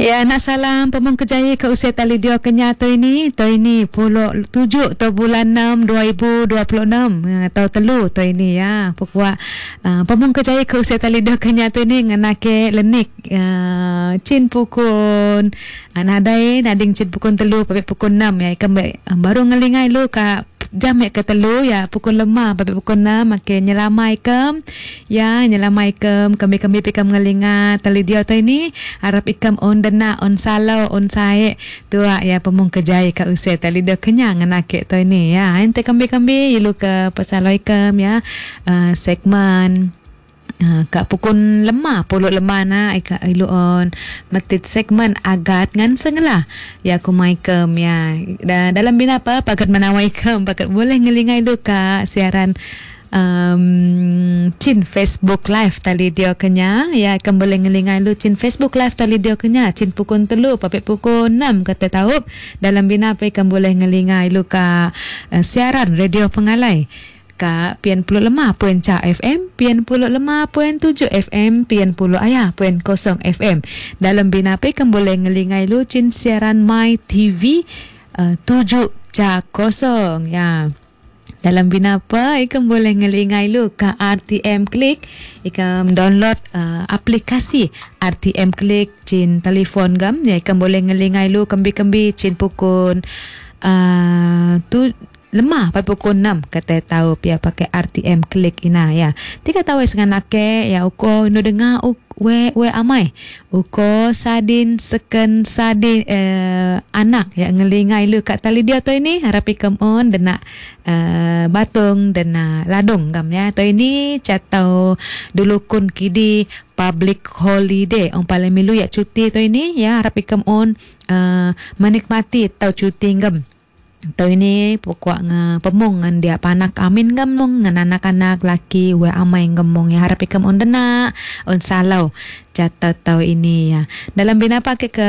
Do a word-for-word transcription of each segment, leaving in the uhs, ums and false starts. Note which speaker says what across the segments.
Speaker 1: Ya, nak salam pemung kejaya ke usia tali dia kenya tu ini, tu ini puluh tujuh tu bulan enam dua ribu dua puluh enam atau telu tu ini ya. Pokok uh, pemung kejaya ke usia tali dia kenya tu ini ngenake lenik uh, cin pukun uh, nadai nading cin pukun telu pape pukun enam ya. Ikan uh, baru ngelingai lu ka jam ya ke telu ya pukul lima pape pukul enam make nyelamai kem ya nyelamai kem kami kami pikam ngelinga tali dia tu ini harap ikam on dena on salo on sae tua ya pemung kejaya ka usia tali dia kenyang ngenake tu ini ya ente kami kami ilu ke pasaloi kem ya uh, segmen Uh, kak pukul lemah puluk lemah na ika ilu on metit segmen agat ngan senglah ya ku maikem ya da, dalam bina apa pakat menawai kem pakat boleh ngelingai lu kak siaran um, cin Facebook live tali dia kenya ya kem boleh ngelingai lu cin Facebook live tali dia kenya cin pukul telu papek pukul enam kata tahu dalam bina apa kem boleh ngelingai lu kak uh, siaran radio pengalai ka pian puluh lima poin ca F M, pian puluh lima poin tujuh F M, pian puluh ayah poin kosong F M. Dalam bina pe kan boleh ngelingai lu cin siaran My T V uh, tujuh ca kosong ya. Dalam bina apa ikam boleh ngelingai lu ka R T M Klik, ikam download uh, aplikasi R T M Klik cin telefon gam ya ikam boleh ngelingai lu kembi-kembi cin pukul uh, tu lemah pai pukul enam kata tahu pia pakai R T M Klik ina ya. Tiga tahu dengan lake ya uko nu dengar u, we we amai. Uko sadin seken sadin eh, anak ya ngelingai lu kat tali dia tu ini harap ikam on dena eh, batung dena ladung gam ya. Tu ini catau dulu kun kidi public holiday on paling milu ya cuti tu ini ya harap ikam on eh, menikmati tau cuti gam. Tau ini pokok nge pemung ngan dia panak amin gamong ngan anak-anak laki we amai gamong ya harap ikam on dena on salau catat tau ini ya. Dalam bina pakai ke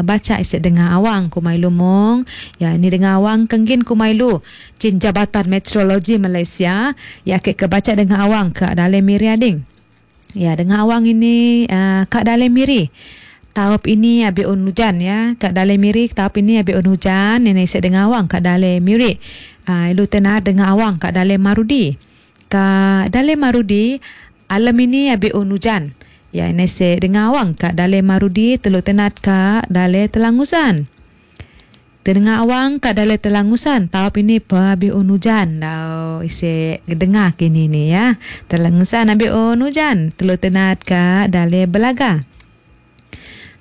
Speaker 1: baca isik dengar awang kumai lumong ya ini dengar awang kenggin kumai lu cin Jabatan Meteorologi Malaysia ya ke ke baca dengar awang ke dalam miri ading. Ya dengar awang ini uh, kak dalam miri. Tahap ini abi on hujan ya. Kak dalam miri tahap ini abi on hujan. Ini isik dengar awang kak dalam miri. Ah ilu tenah dengar awang kak dalam marudi. Kak dalam marudi alam ini abi on hujan. Ya ini isik dengar awang kak dalam marudi telu tenat kak dalam telangusan. Dengar awang kak dalam telangusan tahap ini pa abi on hujan. Dau isik dengar kini ni ya. Telangusan abi on hujan telu tenat kak dalam belaga.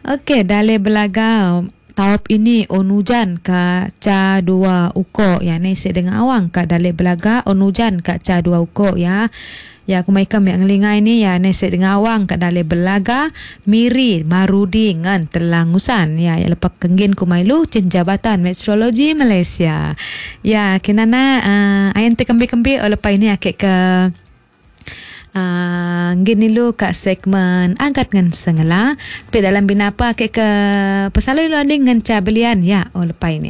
Speaker 1: Okey, dalam belaga tahap ini on hujan ka ca dua uko ya ni isik dengan awang ka dalam belaga on hujan ka ca dua uko ya. Ya aku maikam yang ngelingai ni ya ni isik dengan awang ka dalam belaga miri marudi ngan telangusan ya ya lepak kenggin kumailu cin Jabatan Meteorologi Malaysia. Ya kinana uh, ayan te kembi-kembi lepas ini akek ke Uh, gini lu kat segmen angkat ngan sengela. Tapi dalam bina apa ke ke pesalui lu ading ngan cabelian ya oh lepai ni.